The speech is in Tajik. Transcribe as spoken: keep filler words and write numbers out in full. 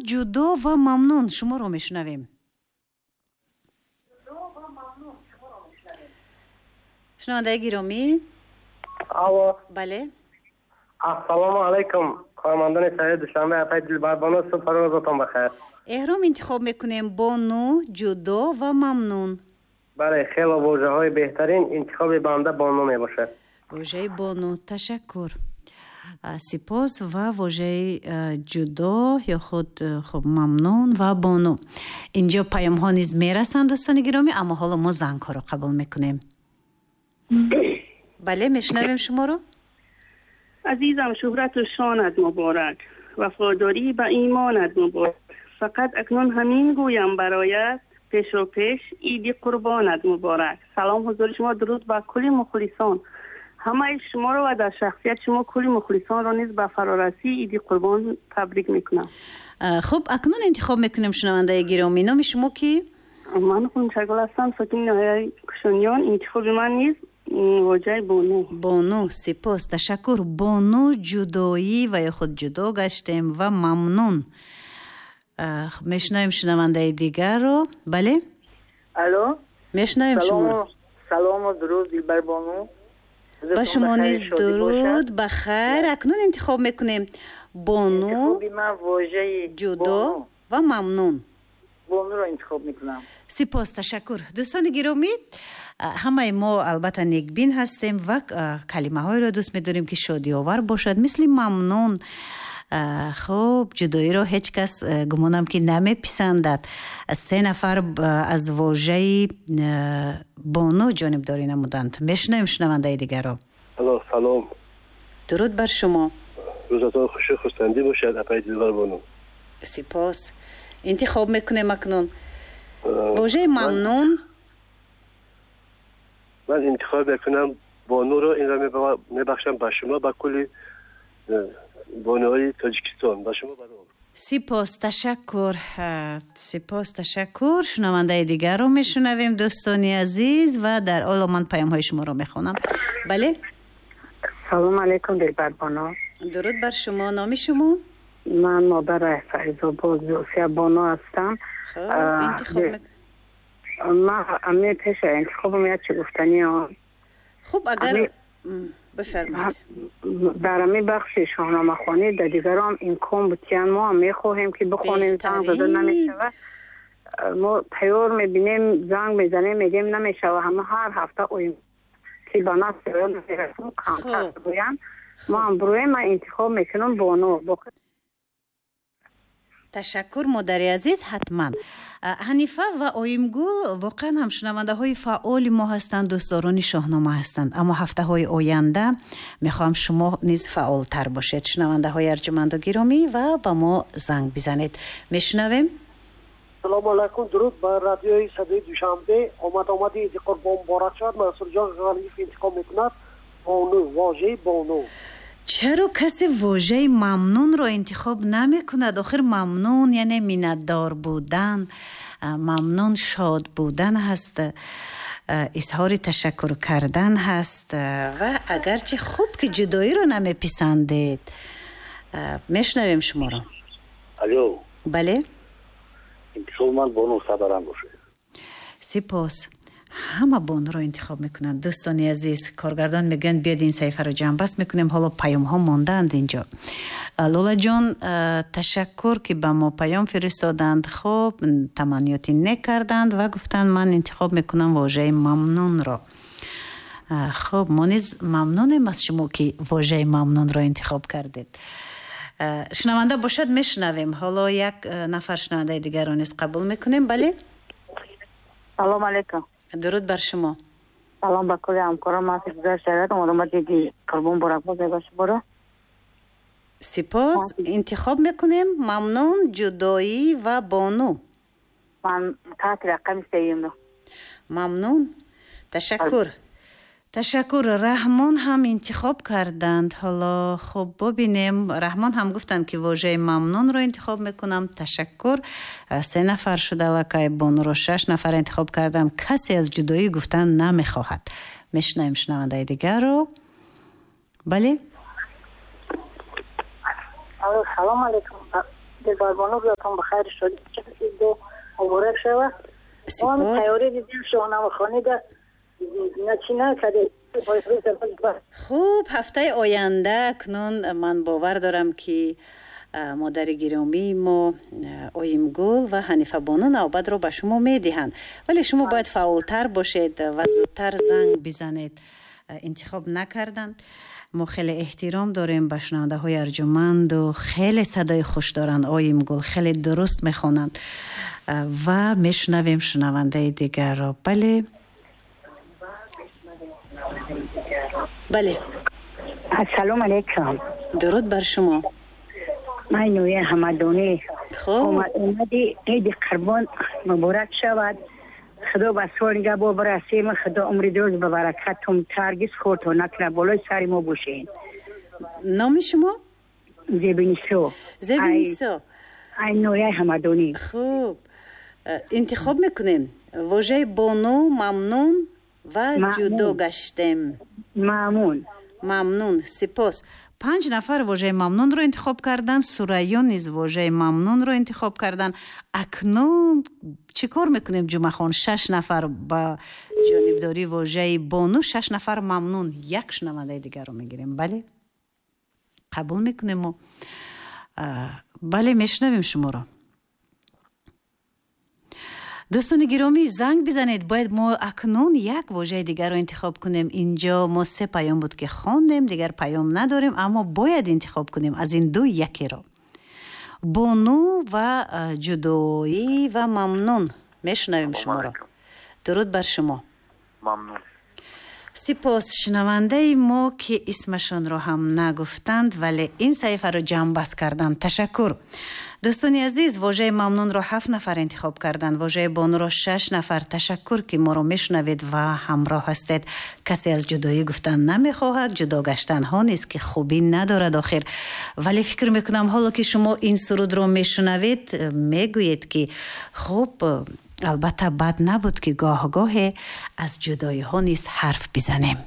Ҷудо ва мамнун, шуморо мешунавем. Шунавандаи гиромӣ. Алло. Бале. Ассалому алайкум, кормандони шаҳри Душанбе, апаи Дилбарбону, субҳу рӯзатон бахайр. Эҳром интихоб мекунем: бону, ҷудо ва мамнун. Бале, хело вожаҳои беҳтарин, интихоби банда бону мебошад. Вожаи бону, ташаккур. Сипос. Ва вожаи ҷудо ё худ, хуб, мамнун ва бону. Инҷо паёмҳо низ мерасанд, дӯстони гиромӣ, аммо ҳоло мо зангҳоро қабул мекунем. Бале, мешунавем шуморо. Азизам, шӯҳрату шонат муборак, вафодорӣ ба имонат муборак. Фақат акнун ҳамин гӯям бароят, пешу пеш иди қурбонат муборак. Салом ҳузури шумо, дуруд ба кулли мухлисон. Ҳамаи шуморо ва дар шахсияти шумо кулли мухлисонро низ ба фарорасии иди қурбон табрик мекунам. Хуб, акнун интихоб мекунем, шунавандаи гиромӣ. Номи шумо кӣ? Ман Хунчагул ҳастам, сокини ноҳияи Кушониён. Интихоби ман низ вожаи бону. Бону, сипос, ташаккур. Бону, ҷудоӣ ва ё худ ҷудо гаштем ва мамнун. Мешунавем шунавандаи дигарро. Бале? Алло. Мешунавем шуморо. Салому дуруд, Дилбарбону. Ба шумо низ дуруд, ба хайр. Акнун интихоб мекунем: бону, ҷудо ва мамнун. Бонуро интихоб мекунам. Сипос, ташаккур. Дӯстони гиромӣ, ҳамаи мо албатта некбин ҳастем ва калимаҳоеро дӯст медорем, ки шодиовар бошад, мисли мамнун. Хуб, ҷудоиро ҳеҷ кас, гумонам, ки намеписандад. Се нафар аз вожаи бону ҷонибдорӣ намуданд. Мешунавем шунавандаи дигарро. Алло, салом. Дуруд бар шумо. Рӯзатон хушу хурсандӣ бошад, апаи Дилбарбону. Сипос. Интихоб мекунем акнун вожаи мамнун. Ман интихоб мекунам бонуро, инро мебахшам ба шумо, ба кулли бонуҳои Тоҷикистон, ба шумо барор. Сипос, ташаккур. Сипос, ташаккур. Шунавандаи дигарро мешунавем, дӯстони азиз, ва дар ҳоло ман паёмҳои шуморо мехонам. Бале. Салом алайкум, Дилбарбону. Дуруд бар шумо. Номи шумо? Ман модари Файзобод Зулфия Бону ҳастам. Интихоб ман ами пеша интихобам як чи гуфтанӣ. Хуб, агар бифармоед. Дар ами бахши шоҳномахонӣ дар дигарам имкон бутиян, мо ҳам мехоҳем, ки бихонем, занг зада намешава. Мо тайёр мебинем, занг мезанем, мегем намешава. Ҳама ҳар ҳафта оим ки ба нас мерасем, камтар гӯянд. Мо ҳам бруем. Ман интихоб мекунам бону. Ташаккур, модари азиз. Ҳатман Ҳанифа ва Оимгул воқеан ҳам шунавандаҳои фаъоли мо ҳастанд, дӯстдорони шоҳнома ҳастанд, аммо ҳафтаҳои оянда мехоҳам шумо низ фаъолтар бошед, шунавандаҳои арҷуманду гиромӣ, ва ба мо занг бизанед. Мешунавем. Салому алайкум, дуруд ба радиои Садои Душанбе. Омад омади иди қурбон муборак шавад. Мансурҷон Ғаниев интихоб мекунад бону, вожаи бону. Чаро касе вожаи мамнунро интихоб намекунад? Охир мамнун яъне миннатдор будан, мамнун шод будан ҳаст, изҳори ташаккур кардан ҳаст. Ва агарчи хуб, ки ҷудоиро намеписандед. Мешунавем шуморо. Алло. Бале. Интихоби ман бону, сабарам бошад. Сипос. Ҳама бонуро интихоб мекунанд, дӯстони азиз. Коргардон мегӯянд, биёд ин саҳифаро ҷамъбаст мекунем. Ҳоло паёмҳо мондаанд инҷо. Лолаҷон, ташаккур, ки ба мо паём фиристоданд. Хуб, таманниёти нек карданд ва гуфтанд, ман интихоб мекунам вожаи мамнунро. Хуб, мо низ мамнунем аз шумо, ки вожаи мамнунро интихоб кардед. Шунаванда бошад, мешунавем. Ҳоло як нафар шунавандаи дигарро низ қабул мекунем. Бале. Салом алайкум. Дуруд бар шумо. Салом ба кулли ҳамкорон. Ман гузашта омадам, иди қурбон муборак бошад ба шуморо. Сипос. Интихоб мекунем мамнун, ҷудоӣ ва бону. Ман таҳти рақами сеюмро. Мамнун, ташаккур, ташаккур. Раҳмон ҳам интихоб карданд. Ҳоло хуб, бубинем. Раҳмон ҳам гуфтанд, ки вожаи мамнунро интихоб мекунам. Ташаккур. Се нафар шуда аллакай. Бонуро шаш нафар интихоб карданд. Касе аз ҷудоӣ гуфтан намехоҳад. Мешунавем шунавандаи дигарро. Бале. Алло, салом алейкум. Дилбарбону рӯзатон бахайр шуд. Ид муборак шавад. Сипос. Тайёрӣ дидем шоҳномахонӣ да начи накардем. Хуб, ҳафтаи оянда акнун ман бовар дорам, ки модари гиромии мо Оимгул ва Ҳанифабону навбатро ба шумо медиҳанд, вале шумо бояд фаъолтар бошед ва зудтар занг бизанед. Интихоб накарданд. Мо хеле эҳтиром дорем ба шунавандаҳои арҷуманду хеле садои хуш доранд. Оимгул хеле дуруст мехонанд ва мешунавем шунавандаи дигарро. Бале, бале. Ассалому алайкум. Дуруд бар шумо. Ман Нуя Ҳамадонӣ. Хуб, омади Иди Қурбон муборак шавад. Худо ба сол нигаҳбон барасем. Худо умри дӯз ба баракатум таргиз хӯртон накунад, болои сари мо бошед. Номи шумо? Зебинисо. Зебинисо. Ай Нуя Ҳамадонӣ. Хуб, интихоб мекунем вожаи бону, мамнун ва ҷудо гаштем. Мамнун. Мамнун. Сипос. Панҷ нафар вожаи мамнунро интихоб карданд. Сурайё низ вожаи мамнунро интихоб карданд. Акнун чӣ кор мекунем, Ҷумъахон? Шаш нафар ба ҷонибдории вожаи бону, шаш нафар мамнун. Як шунавандаи дигарро мегирем. Бале, қабул мекунем мо. Бале, мешунавем шуморо. Дӯстони гиромӣ, занг бизанед. Бояд мо акнун як вожаи дигарро интихоб кунем. Инҷо мо се паём буд, ки хондем, дигар паём надорем, аммо бояд интихоб кунем аз ин ду якеро. Бону ва ҷудоӣ ва мамнун. Мешунавем шуморо. Дуруд бар шумо. Мамнун. Сипос. Шунавандаи мо, ки исмашонро ҳам нагуфтанд, вале ин саҳифаро ҷамъбаст карданд. Ташаккур. Дӯстони азиз, вожаи мамнунро ҳафт нафар интихоб карданд, вожаи бонуро шаш нафар. Ташаккур, ки моро мешунавед ва ҳамроҳ ҳастед. Касе аз ҷудоӣ гуфтан намехоҳад, ҷудо гаштанҳо низ ки хубӣ надорад охир. Вале фикр мекунам, ҳоло ки шумо ин сурудро мешунавед, мегӯед, ки хуб, албатта бад набуд, ки гоҳ-гоҳе аз ҷудоиҳо низ ҳарф бизанем.